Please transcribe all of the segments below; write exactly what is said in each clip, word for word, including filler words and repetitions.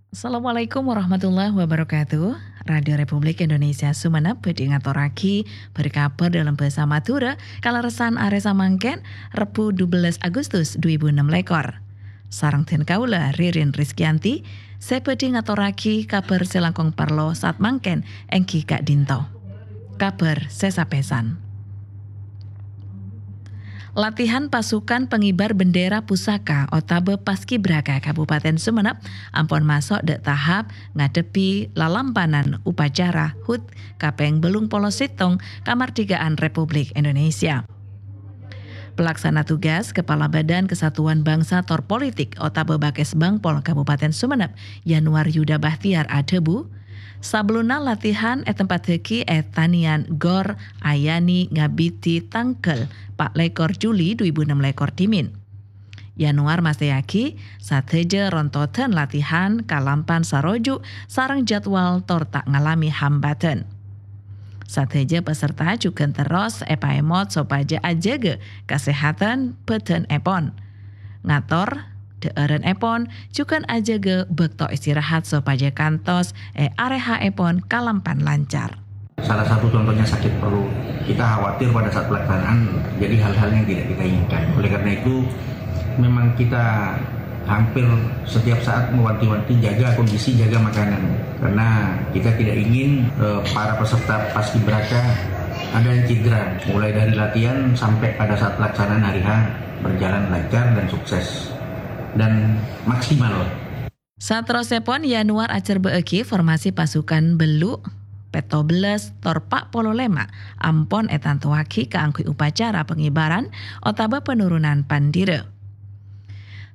Assalamualaikum warahmatullahi wabarakatuh. Radio Republik Indonesia Sumenep bhâdhi ngatorraghi bhâr-kabhâr dâlem bhâsa Madhurâ, kalerressan arè samangkèn, Rebbhu dubellâs Agustus dhu èbu ennem lèkor. Sareng dhân kaulâ, Ririn Rizkyanti, sè bhâdhi ngatorraghi kabhâr sè langkong parlo saat mangkèn èngghi ka'dinto. Kabhâr sè sapèsan. Latihan pasukan pengibar bendera pusaka otabâ Paskibraka Kabupaten Sumenep ampon maso' dâ' tahap ngadhebbhi lalampanan upacara HUT kapèng bâllung polo sèttong Kamardhikaan Republik Indonesia. Pelaksana tugas Kepala Badan Kesatuan Bangsa tor Politik otabâ Bakesbangpol Kabupaten Sumenep, Yanuar Yuda Bahtiar adhâbu, sabellunna latihan ètempattaghi è Tanian Gor Ayani Ngabidi tangghâl pa' lèkor Juli dhu èbu ennem lèkor dhimèn. Yanuar mastèyaghi sadhâjâ rontodan latihan kalampan saroju' sareng jadwal tor ta' ngalamè hambâdhân. Sadhâjâ peserta jhughân terros èpaèmot sopajâ ajâgâ kasèhadhân bhâdhânèpon. Ngator dhâ'ârânèpon jhughân ajâgâ bâkto istirahat sopajâ kantos è arè ha'èpon kalampan lancar. Salah satu contohnya sakit perut. Kita khawatir pada saat pelaksanaan terjadi hal-hal yang tidak kita inginkan. Oleh karena itu, memang kita hampir setiap saat mewanti-wanti jaga kondisi, jaga makanan. Karena kita tidak ingin, eh, para peserta paskibraka ada yang cedera. Mulai dari latihan sampai pada saat pelaksanaan hari H berjalan lancar dan sukses dan maksimal. Saterrossèpon, Yanuar acarebbhâ'âghi formasi pasukan bâllu', pètto bellâs, tor pa' polo lèma' ampon ètantowaghi kaangghuy upacara pangibaran otabâ penurunan pandhira.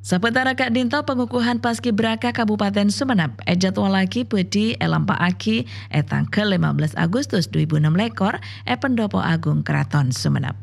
Sabâtara ka'dinto, pangukuhan Paskibraka Kabupaten Sumenep èjadwallaghi bhâdhi èlampa'aghi è tangghâl lèma bellâs Agustus dhu èbu ennem lèkor è Pendopo Agung Karaton Sumenep.